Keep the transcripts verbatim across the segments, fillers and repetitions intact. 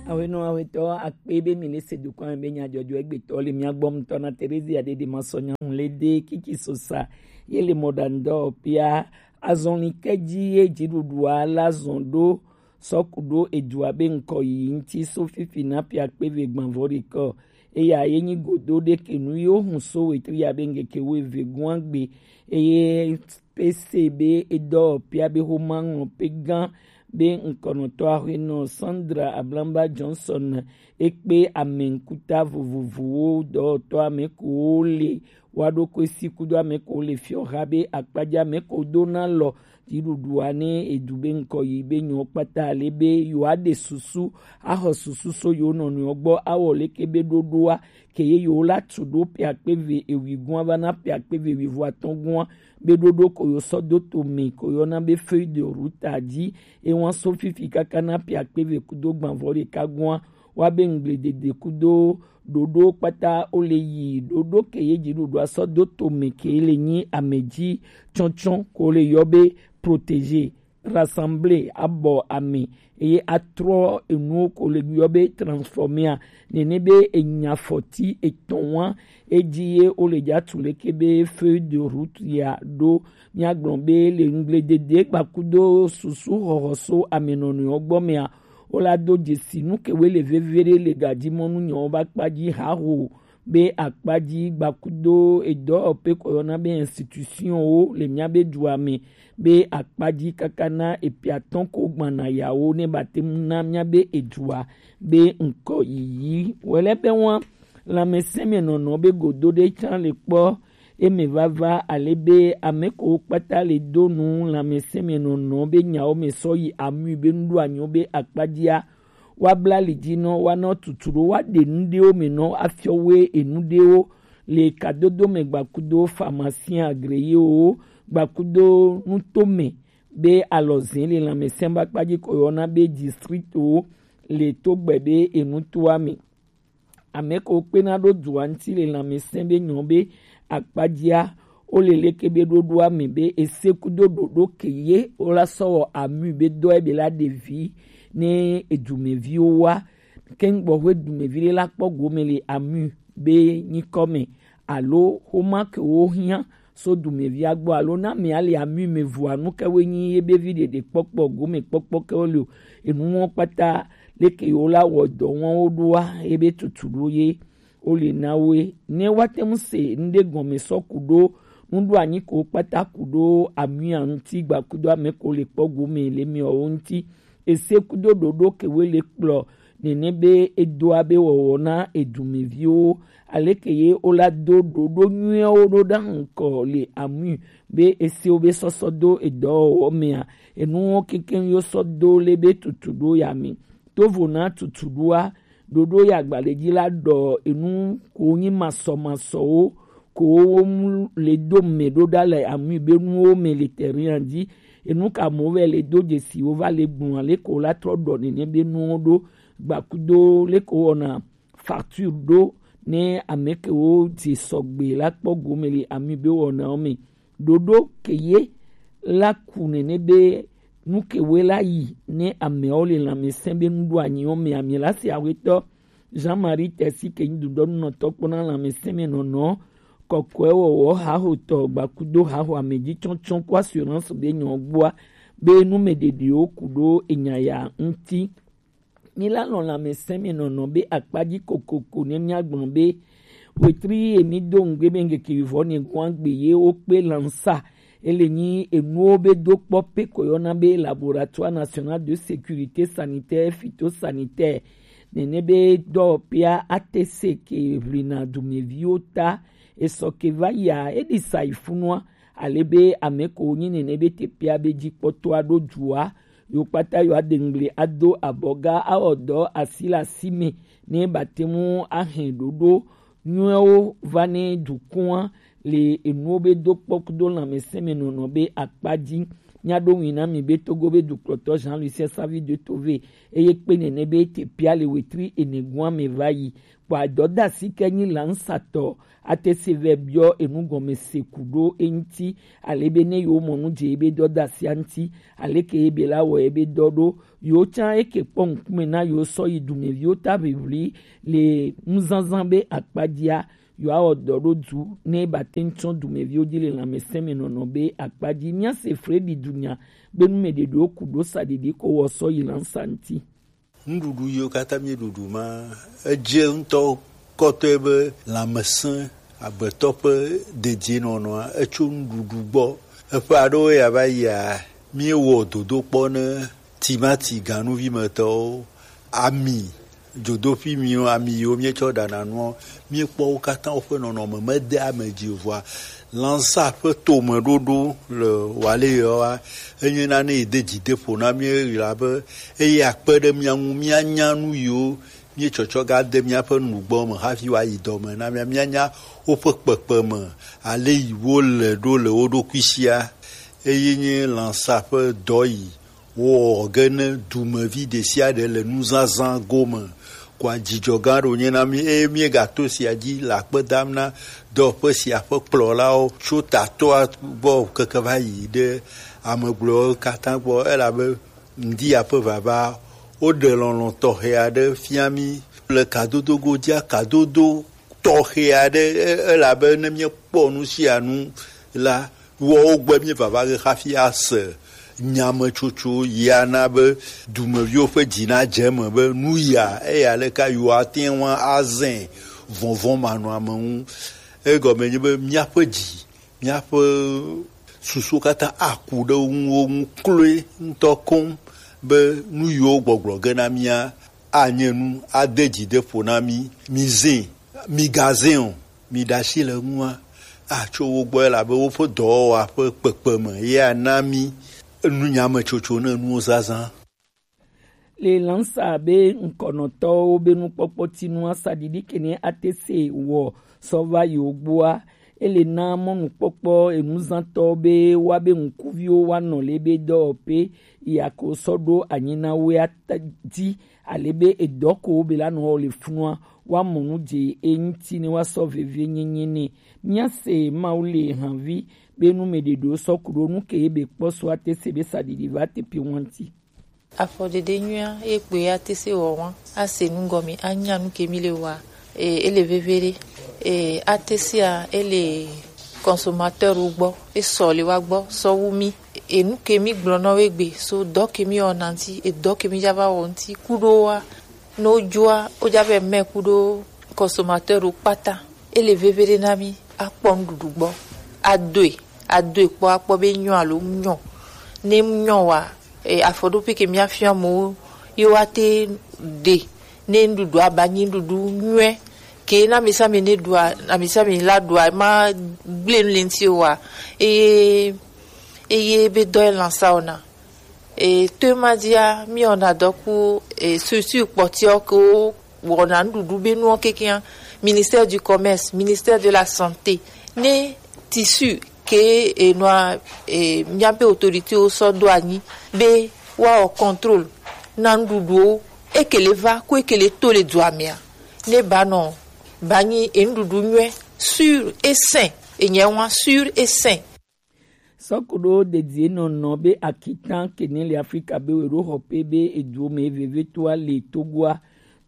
Awenɔ awetɔ akpe be mi le se dukɔn be nyadzɔdzɔ egbetɔ le mia gbɔ ŋutɔ na Terezia ɖeɖe ma sɔ nyanu le de kiki sosa ye le mɔɖaŋudɔ pia azɔli kɛji ye dziɖuɖua la zɔn ɖo sɔku ɖo edua be ŋkɔ yi ŋti so fifi na pia kpe ve gbanvɔ ɖekɔ. Eya ye nyi godo ɖe ke nu yo hun so wetri ya be ŋgeke wo eve gua gbe eye pese be edɔ pia be xoma ŋlɔ pe gã be ŋkɔnɔtɔ ahuenɔ Sandra Ablamba Johnson ekpe ame ŋkuta vovovowo dɔwɔtɔ ame ko le wa ɖo ko esi kudo ame ko le fiɔ ha be akpadza ame ko do na lɔ dziɖuɖua ne edu be ŋkɔ yi be nyɔ kpata le be yewoa ɖe susu axɔ susu so yewo nɔnɔewo gbɔ awɔ leke be ɖoɖoa ke ye yewo la tu ɖo pia kpe ve ewi gua va na pia kpe ve ewi vo atɔn gua be ɖoɖo ko yo sɔ do to me ko yɔna be feuille de route a dzi ewa so fifi kaka na pia kpe ve kudo gbanvɔ ɖeka gua wa be ŋgble dede kudo ɖoɖo kpata wo le yi ɖoɖo ke ye dziɖuɖua sɔ do to me ke le nyi ame dzi tsɔtsɔ ko le yɔ be protéger, rassembler, abɔ ame eye atrɔ enuwo ko le yɔ be transformer a nene be enya fɔti etɔn wa edzi ye wo le dza tu leke be feuille de route ya ɖo. Míagblɔ be le ŋgble dede gbakudo susu xɔxɔ so ame nɔnɔewo gbɔ mea wo la do dzesi nu ke wo le veve ɖe le gadzi mɔnu nyawo ba kpa dzi haho be akpadzi gbakudo edɔwɔƒe kɔ yɔna be institution wo le mía be dua me be akpadzi kaka na epiatɔn ko gbana yawo ne ba te mu na mía be edua be ŋkɔ yiyi wɛlɛ be wa lãmesẽ me nɔnɔ be godo ɖe tsã le kpɔ eme vava ale be ame ko kpata le do nu lãmesẽ me nɔnɔ be nyawo me sɔ yi amui be nuɖo anyo be akpadzia woabla ali dzi nɔ woanɔ tutu ɖo woaɖe nu ɖewo me nɔ afiɔ woe enu ɖewo le kadodo me gbakudo pharmacien agréé wo gbakudo nutome be alɔzẽ le lãmesẽ ba kpadzi ko yɔna be district wo le togbe be enutoa me. Ame ko kpena ɖo dua ŋuti le lãmesẽ be nyɔ be akpadzia wo le leke be ɖoɖoa me be ese kudo ɖoɖo ke ye wo la sɔ wɔ amui be dɔ ebe la ɖevi ne edumeviwo wa keŋ gbɔ ƒe dumevi ɖe la kpɔ gome le amui be nyikɔ me alo xoma ke wo hiã so dumevia gbɔ alo na mia le amui me vua nu ke wo nyi ye be vi ɖeɖe kpɔkpɔ gome kpɔkpɔ ke wo le o. Enu wo kpata leke wo la wɔ dɔ wo ɖoa ye be tutu ɖo ye wo le na woe ne woate ŋu se ŋɖe gɔme sɔ ku ɖo nuɖo anyi ko kpata ku ɖo amia ŋuti gbakudo ame ko le kpɔ gome le miawo ŋuti ese kudo ɖoɖo ke wo le kplɔ nene be edoa be wɔwɔ na edumeviwo aleke ye wo la do ɖoɖo nyuiawo ɖo ɖa ŋkɔ le amui be esewo be sɔsɔ do edɔwɔwɔ mea enuwo kekeŋ yo sɔ do le be tutu ɖo ya me tovo na tutu ɖoa ɖoɖo ya agbalẽ dzi la ɖɔ enu ko nyi masɔmasɔwo ko wo mu le do me ɖo ɖa le amui be nuwo me le terrain dzi enu ka mo vɛ le do dzesi wo va le gbɔn ale ko la trɔ ɖɔ nene be nuwo ɖo gbakudo le ko wɔna facture ɖo ne ame ke wo dze sɔgbe la kpɔ gome le amui be wɔnawo me ɖoɖo ke ye la ku nene be nu ke woe la yi ne ameawo le lãmesẽ be nuɖoanyiwo me ame la si awetɔ Jean-Marie Tesi ke nyi dudɔnunɔtɔ kpɔna lãmesẽ me nɔnɔ kɔkɔe wɔwɔ haxotɔ gbakudo haxo amedzitsɔtsɔ ko assurance be nyɔ gbɔa be nu me ɖeɖiwo ku ɖo enya ya ŋuti. Mi la lɔ̃ lãmesẽ me nɔnɔ be akpadzi kokoko ne míagblɔ be wetri ye mi do ŋgbe be ŋkeke vivɔ ne gua gbe ye wo kpe lansa ele nyi enuwo be do kpɔ pe ko yɔna be laboratoire national de sécurité sanitaire phytosanitaire nene be dɔwɔƒea ate se ke ʋlina dumeviwo ta esɔ ke va yia eɖi sa yi funua ale be ame ko nyi nene be teƒea be dzikpɔtɔa ɖo dua yo kpata yo aɖe ŋgli ado abɔga awɔ dɔ asi le asi me ne bate ŋu ahe ɖoɖo nyuiwo va ne dukɔa le enuwo be do kpɔ kudo lãmesẽ me nɔnɔ be akpa dzi Míaɖo ŋui na mi be Togo be dukplɔtɔ Jean Lucien Savi de Tove eye kpe nene be te pia le wetri ene gua me va yi. Kpɔ adɔdasi ke nyi lansatɔ ate se vɛ biɔ enu gɔme se ku ɖo eŋuti, ale be ne yewo mɔ nu dze ebe dɔdasia ŋuti, aleke ebe la wɔ ebe dɔ ɖo, yewo tsã eke kpɔ ŋkume na yewo sɔ yi dumeviwo ta ʋiʋli le nuzazã be akpa dzia, yewoawɔ dɔ ɖo du ne ba te ŋu tsɔ dumeviwo dzi le lãmesẽ me nɔnɔ be akpa dzi. Míase Fredi dunya be nu me ɖeɖewo ku ɖo sa ɖiɖi ko wɔ sɔ yi lansa ŋuti. Nuɖuɖu yiwo katã míeɖuɖu ma, edze ŋutɔ kɔtɔe be lãmesẽ agbetɔ ƒe dedienɔnɔa etso nuɖuɖu gbɔ. Eƒe aɖewo ya va yia, míewɔ dodokpɔ ne timati ganuvimetɔwo, ami, dzodoƒi miwo, ami yiwo míetsɔ ɖana nuwo, míekpɔ wo katã woƒe nɔnɔme mede ame dzi o. Vɔa, lãsa ƒe tomeɖoɖo le Waleyawoa, enye nane yi de dzi de ƒo na mí ɣi la be eye akpe ɖe mía ŋu míanya nu yiwo míetsɔtsɔ ga de míaƒe nugbɔ me hafi woayi dɔ me na mía, míanya woƒe kpekpeme, ale yi wole ɖo le wo ɖokui sia. Eye nye lãsa ƒe dɔ yi wowɔ ge ne dumevi ɖe sia ɖe le nuzazã gome. Kɔa dzidzɔ gã ɖo nye na mí eye míegato sia dzi le akpe dam na dɔƒe sia ƒe kplɔlawo tso tatɔa gbɔ keke va yi ɖe ame gblɔewo katã gbɔ, elabe ŋdi ya ƒe vava woɖe lɔlɔ̃ tɔxɛ aɖe fia mí le kadodo godzia kadodo tɔxɛ aɖe, e-, elabe ne míekpɔ nu sia nu la, woawo gbɔe míeva va ge hafi ase nyametsotso yi ana be dumeviwo ƒe dzi nadze eme be nu ya eya leka yewoate ŋu azẽ vɔvɔ̃ manɔame ŋu. Egɔme nye be míaƒe dzi, míaƒe susuwo katã aku ɖe wo ŋu, wo ŋu kloe ŋutɔ koŋ be nu yiwo gbɔgblɔ ge na mía anye nu ade dzi de ƒo na mí. Mizẽ, migazẽ o, miɖe asi le eŋua, atso wo gbɔ, elabe woƒe dɔwɔwɔa ƒe kpekpeme ye ana mí nu nyametsotso ne nuwo zazã. Le lãsa be ŋkɔnɔtɔwo be nukpɔkpɔ tinu asaɖiɖi kene ate se wɔ sɔ va yi wo gbɔa, ele na mɔnukpɔkpɔ enuzãtɔwo be woabe ŋkuviwo woanɔ le be dɔwɔƒe yi ako sɔ ɖo anyi na woe ata dzi, ale be edɔ ko be la nɔ wɔ le funua woamɔ nu dze eŋuti ne woasɔ vevienyenye nɛ. Míase Mawu le havi be nu me ɖeɖewo sɔ ku ɖo nu ke ye be kpɔ so ate se be saɖiɖi va teƒe ŋuti. Afɔɖeɖe nyuia ye kpoe ate se wɔ wa, ase nu gɔme, anya nu ke mi le wa, e, ele veve ɖe. E, ate sia ele consommateur wo gbɔ, e sɔ le wa gbɔ sɔ wu mi. E nu ke mi gblɔ na wo egbe so dɔ ke mi wɔna ŋuti, e dɔ ke mi dza va wɔ ŋuti kuɖo wa, ne wo dzoa, wo dza vɛ mɛ kuɖo consommateur wo kpata. Ele veve ɖe na mi akpɔ nuɖuɖu gbɔ, adoe, adoe kpɔ akpɔ be nyɔ alo nyɔ. Ne nyɔ wa, e, afɔɖoƒe ke míafia amewo ye woate ɖe ne nuɖuɖu aba nyi nuɖuɖu nyuie ke na ame sia ame ne ɖua, ame sia ame la ɖua ma gblẽ nu le ŋuti o wa. Eye, eye be dɔ ye lãsa wɔna. E, to ema dzia, míwɔna dɔ ku, e, structure kpɔtɔewo ke wo wɔna nuɖuɖu be nuwo kekeŋ, ministère du commerce, ministère de la santé, ne tissu ke enɔa, e, míaƒe autoritéwo sɔ ɖo anyi be woawɔ contrôle na nuɖuɖuwo, eke le va ku eke le to le dua mea, ne ba nɔ ba nyi enuɖuɖu nyuie, sûr et sain, enye wa sûr et sain. Sɔkuɖo dedienɔnɔ be akitan kene le Afrika be weɖo xɔpe be eduwo me vevetoa le Togoa.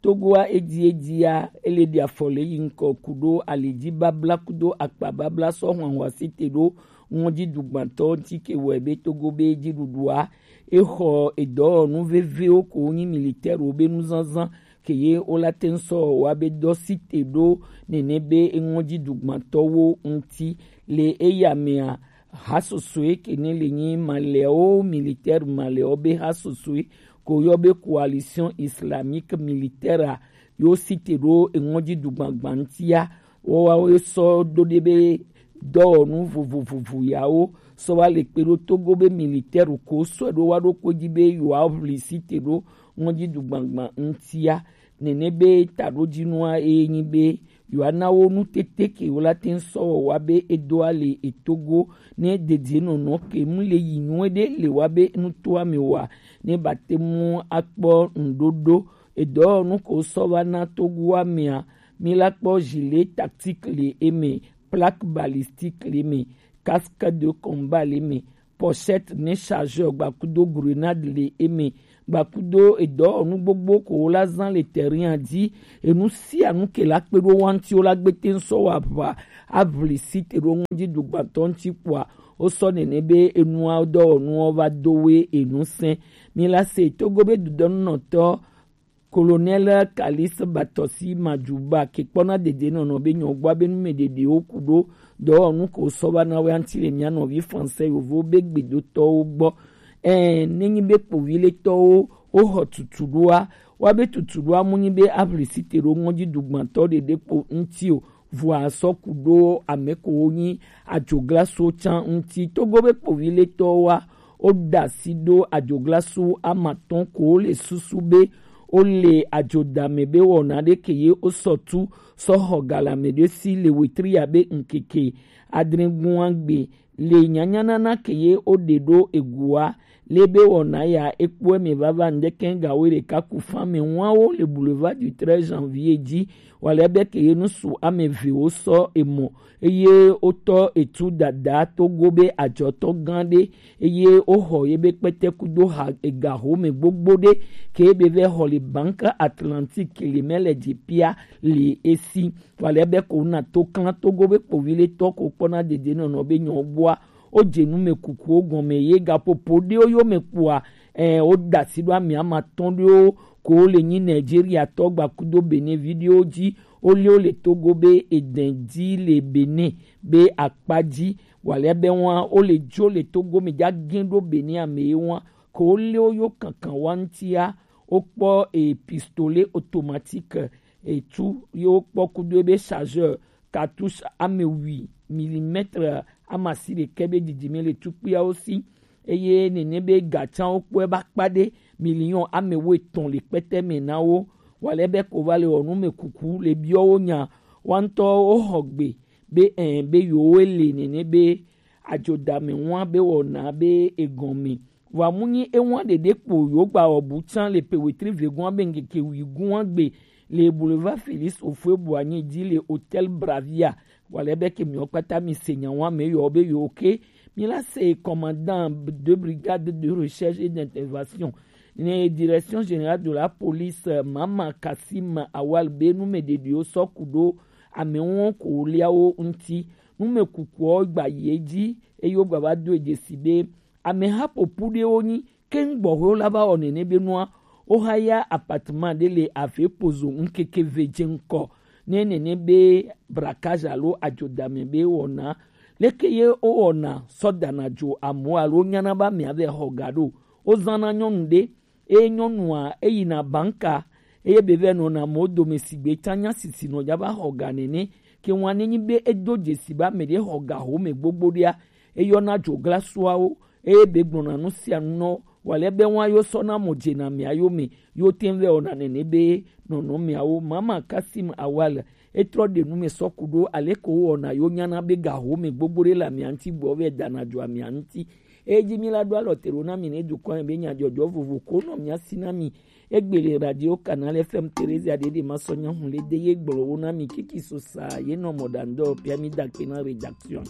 Togoa edi edia ele ɖi afɔ le yi ŋkɔ kuɖo alidzi babla kudo akpa babla sɔ hwanhwa site ɖo ŋɔdzi dugbantɔ ŋuti ke wɔe be Togo be dziɖuɖua exɔ edɔwɔnu vevewo ko nyi militɛrwo be nuzazã ke ye wola te ŋu sɔ wa be dɔ site ɖo nene be eŋɔdzi dugbantɔwo ŋuti. Le eya mea, hasosoe ke ne le nyi malɛwo, militaire malɛwo be hasosoe ko yɔ be coalition islamique militaire a, yo site ɖo eŋɔdzi dugbagba ŋutia. Woawo sɔ do ɖe be dɔwɔnu vovovovo yawo sɔ va le kpe ɖo Togo be militaire ko sɔ ɖo wa ɖo ko dzi be yewoaʋli site ɖo ŋɔdzi dugbagba ŋutia. Nene be taɖodzinua eye nyi be Yewoana wo nu tete ke wo la te ŋ sɔ wɔ wa be e do ale e Togo ne dedienɔnɔ ke mu le yi nyuie ɖe le wa be nutoa me wa ne ba te mu akpɔ ŋɖoɖo. Edɔwɔnu ko sɔ va na Togoa mea, mi la kpɔ gilet tactique le eme, plaque balistique le eme, casque de combat le eme, pochette ne chargeur gbakudo grenade le eme, gbakudo edɔwɔnu gbogbo ko wo la zan le terrain dzi. Enu sia nu ke la kpe ɖo wa ŋuti wo la gbe te ŋ sɔ wa ʋa avli si te ɖo ŋɔdzi dugbantɔ ŋuti kpoa wo sɔ nene be enua dɔwɔnuwo va do we enu sɛn. Mi la se Togo be dudɔnunɔtɔ Colonel Kalis Batɔsi Madjuba ke kpɔna dedienɔnɔ be nyɔgbɔa be numeɖeɖewo ku ɖo dɔwɔnu ko sɔ va na wɛ ŋuti le mia nɔvi français yovo be gbedotɔwo gbɔ. Ɛɛ, nenyi be kpoviletɔwo woxɔ tutuɖoa, wa be tutuɖoa mu nyi be avli si te ɖo ŋɔdzi dugbantɔ ɖeɖe kpo ŋuti o, vɔa sɔ ku ɖo ame ko wo nyi adzoglaso can ŋuti. Togo be kpoviletɔwoa, wo da asi ɖo adzoglaso amatɔn ko wo le susu be wo le adzodame be wɔna ɖe ke ye wo sɔ tu sɔ xɔ galame ɖe si le wetri ya be ŋkeke adre gua gbe le nyanyanana ke ye wo ɖe ɖo egua le be wɔna ya ekpɔe me vava ŋdeke gawo ɖeka ku fan me ŋua wo le boulevard du treize janvier dzi. Wale be ke ye nusu ame eve wo sɔ emɔ eye wotɔ etu dada Togo be adzɔtɔ gã ɖe eye woxɔ ye be kpɛtɛkudo ha ega home gbogbo ɖe ke be vɛ xɔ le Banque Atlantique le mɛ le dzi pia le esi. Wale be ko na to klan Togo be kpoviletɔ ko kpɔna dedienɔnɔ be nyɔ gbɔa wo dze nu me kukuwo gɔme ye gaƒoƒo ɖewo yo me kpɔa. Ɛ, wo da asi ɖo ame amatɔn ɖewo ko le nyi Nigeria tɔ gbakudo Benin vi ɖewo dzi. Wo le wo le Togo be edɛn dzi le Benin be akpa dzi. Wale be wa wo le dzo le Togo me dza gɛn ɖo Benin ame ye wa ko wo le wo yo kankan wa ŋutia. Wo kpɔ e pistolet automatique etu ye wo kpɔ kudo ebe chargeur cartouche ame wi millimètre amasi ɖekɛ be didime le tukpuiawo si. Eye nene be gatsawo kpɔe ba kpa ɖe million ame wo etɔn le kpɛtɛ me na wo. Wale be ko va le wɔ nu me kuku le biɔ wo nya wa ŋutɔ wo xɔ gbe be ɛ be yewo le nene be adzodame ŋua be wɔna be egɔme. Vɔa mu nyi ewa ɖeɖe kpo yewo gba wɔ bu tsã le pe wetri vegɔa be ŋkeke wi gua gbe le boulevard Félix Houphouët-Boigny dzi le hôtel Bravia. Wale be ke miwo kpata mi se nya wa me yɔ be yewo ke mi la se commandant de brigade de recherche et d'intervention ne direction générale de la police Mama Kassim Awal be nu me ɖeɖiwo sɔ ku ɖo ame wo ko liawo ŋuti. Nu me kukuwo gba yi edzi eye wogba va do edze si be ameha ƒoƒu ɖewo nyi ke ŋgbɔxɔewo la va wɔ nene be nua woxa ya appartement ɖe le ave pozo ŋkeke ve dze ŋkɔ ne nene be braquage alo adzodame be wɔna. Leke ye wowɔna sɔ dana dzo amewo alo nyana be amea vɛ xɔ ga ɖo? Wozãna nyɔnu ɖe eye nyɔnua eyina banka eye be vɛ nɔna amewo dome sigbe tsã nya sisi nɔ dza va xɔ ga nene. Ke ŋua nenyi be edo dzesi be ame ɖe xɔ ga home gbogbo ɖea, eyɔna dzoglasuawo eye be gblɔna nu sia nu nɔ wale be wa yo sɔ na mo dze na mia yo me yo te vɛ ona nene be nɔnɔ miawo. Mama Kasim Awal etrɔ ɖe nu me sɔ ku ɖo ale ko wɔna yo nyana be ga home gbogbo ɖe la mia ŋuti gbɔ vɛ dana dzo amia ŋuti. Eyi dzi mi la ɖo alɔ te ɖo na mi ne dukɔ be nyadzɔdzɔ vovo ko nɔ mia si na mi. Egbe le radio Canal F M Theresia ɖeɖe ma sɔ nya hun le de ye gblɔ wo na mi kiki so sa ye nɔ mɔ ɖa ŋdɔ pia mi da kpe na rédaction.